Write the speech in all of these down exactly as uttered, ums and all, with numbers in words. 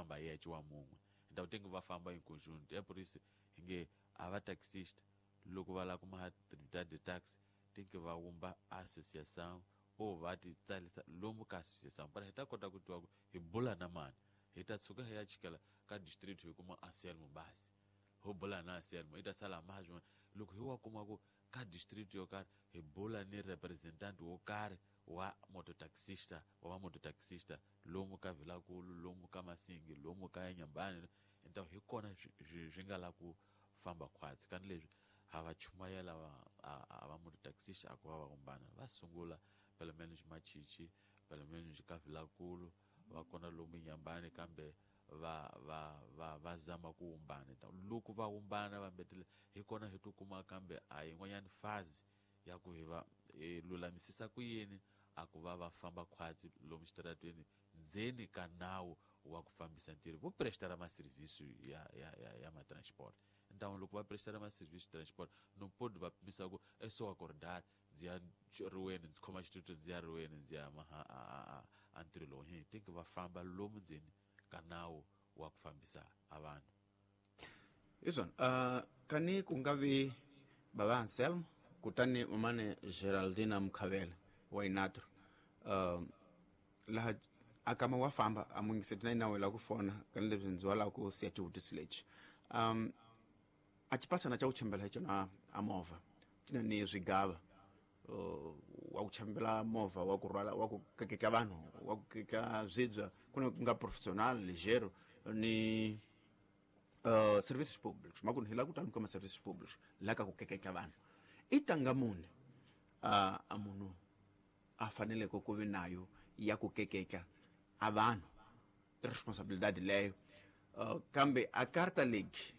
famba yexe wa mun'we então tem que va famba em conjunto. É por isso hi nge a va taxista loko va lava ku maha tributado de taxi tem que va wumba associação ou va ti tsarisa lomu ka associação para hi ta kota ku tiva ku hi bula na mani hi ta tshuka hi ya chikela ka district hi kuma Anselmo basi ho bula na Anselmo i ta sala maha swin'wana loko hi wa kuma ku ka district yo karhi hi bula ni representant wo karhi wa mototaxista wa vamototaxista lomu ka Vilankulu lomu ka Masingi lomu ka Nyambani então hi kona swi swi nga la ku famba khwatsi kani leswi ha va chumayela va a va mototaxista a ku va va vumbana va sungula pelo menos Machichi pelo menos ka Vilankulu va kona lomu Nyambani kambe va va va va zama ku wumbana. Então loko va wumbana va mbetele hi kona hi tikuma kambe a yin'wanyani fazi ya ku hi va hi lulamisisa ku yini a ku va va famba khwatsi lomu xitaratweni ndzeni ka nawu wa ku fambisa ntirho vo prestara maserviço ya ya ya ya matransport. Então loko va prestara maserviço transport não pode va pimisa ku é só acordar ndzi ya riweni ndzi khoma xitutu ndzi ya riweni ndzi ya maha a a a ntirho lowu hi tem que va famba lomu ndzeni ka nawu wa ku fambisa a vanhu. Hi swona uh, kani ku nga vi bava Anselmo kutani mamane Geraldina Mukhavela wa Inatro uh, laha a kama wa famba a mungiseti na inawe la ku fona kani leswi ndzi wa lava ku siya xivutiso lexi um, a xipasana xa ku chambela hi xona a movha xi na ni swigava uh, wa ku chambela movha wa ku rhwala wa ku keketla vanhu wa ku keketla swibya ku na ku nga professional ligero ni uh, serviços públicos makunu hi lava ku tani ka ma-serviços públicos la ka ku keketla vanhu i tanga muni uh, a munhu a faneleke ku vi nayo ya ku keketla a vanhu i responsabilidade leyo uh, kambe a carta legi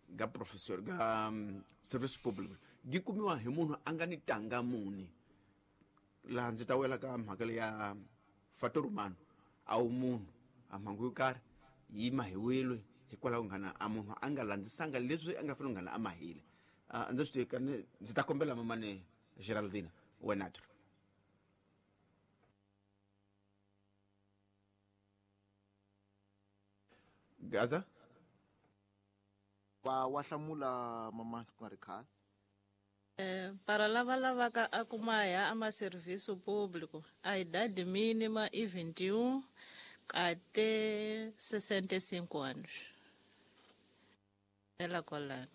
ga professor ga um, serviços públicos gi kumiwa hi munhu a nga ni tanga muni laha ndzi ta wela ka mhaka leya fator humano a wu munhu a mhangu yo karhi yi mahiwile hikwalaho nghana a munhu a nga landzisanga leswi a nga fanele nghana a mahile uh, ndzi swi tiva ndzi ta kombela mamane Geraldina wenatro Gaza va wa hlamula mama ku nga ri khale. Eh, para lava lavaka a ku maha a maserviço público a idade mínima e vinte e um até sessenta e cinco anos. Ela kolana.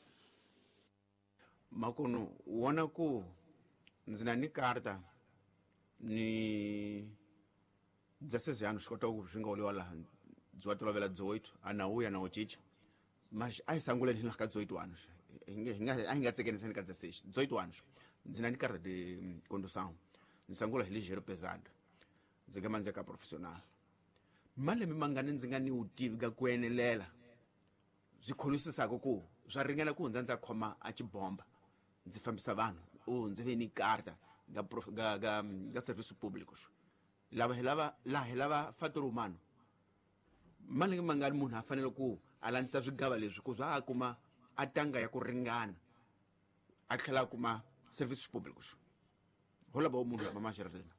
Makunu wona ku ndzi na ni karta ni dezesseis anos kota ku swi nga oliwa laha byi wa tolovela dezoito a na wuya na wu cinca mas a hi sanguleni hi ka dezoito anos hi nga a hi nga tsekeniseni ka dezesseis dezoito anos ndzi na ni carta de condução ndzi sangula hi ligeiro pesado ndzi nga mandzi ka profissional malembe mangani ndzi nga ni vutivi ka ku enelela swi kholisisaka ku swa ringana ku hundza ndza khoma a xibomba ndzi fambisa vanhu u ndzi ve ni karta ga ga ga ga serviço públicos lava hi lava laha hi lava fator humano malembe mangani munhu a fanele ku a landzisa swigava leswi ku za a kuma a tanga ya ku ringana a tlhela a kuma serviços públicos ho lava munhu lama Geraldina.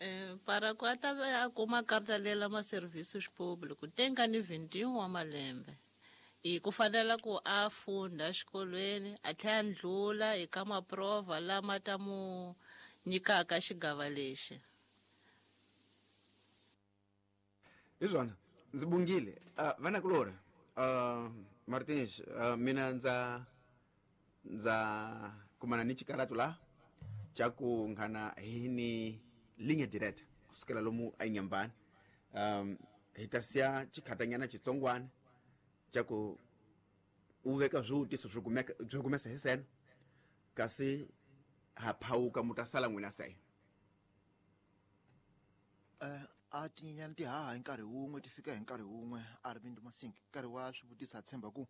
Eh, para ku a ta a kuma karta lela ma serviços públicos tem ka ni vinte e um wa malembe i ku fanela ku a funda xikolweni a tlhela a ndlula eka maprova lama ta mu nyikaka xigava lexi. Hi swona ndzi bungile uh, vanakulori uh, Martins uh, mina ndza ndza kumana ni xikaratu la xa ku nghana hi ni linha direta kusukela lomu a Inhambane um, hi ta siya xikhatanyana xitsongwana xa ku u veka swivutiso swi kumeka swi kumesa hi seno kasi ha phawuka mu ta sala n'wina seyo. Uh, a tinyenyana ti haha hi nkarhi wun'we ti fika hi nkarhi wun'we Arvind Masink nkarhi wa swivutiso a tshemba ku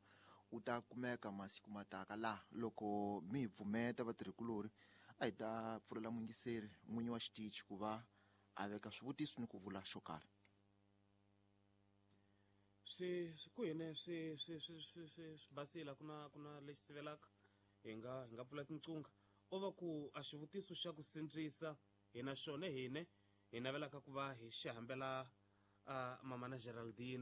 u ta kumeka masiku mataka laha loko mi hi pfumeta vatirhikulori a hi ta pfulela muyingiseri n'winyi wa xitichi ku va a veka swivutiso ni ku vula xo karhi. Swi ku hine swi swi swi swi swi swi basile ku na ku na lexi sivelaka hi nga hi nga pfula tinqungha o va ku a xivutiso xa ku sindzisa hina xona hine hi navelaka ku va hi xi hambela uh, mama na Geraldine.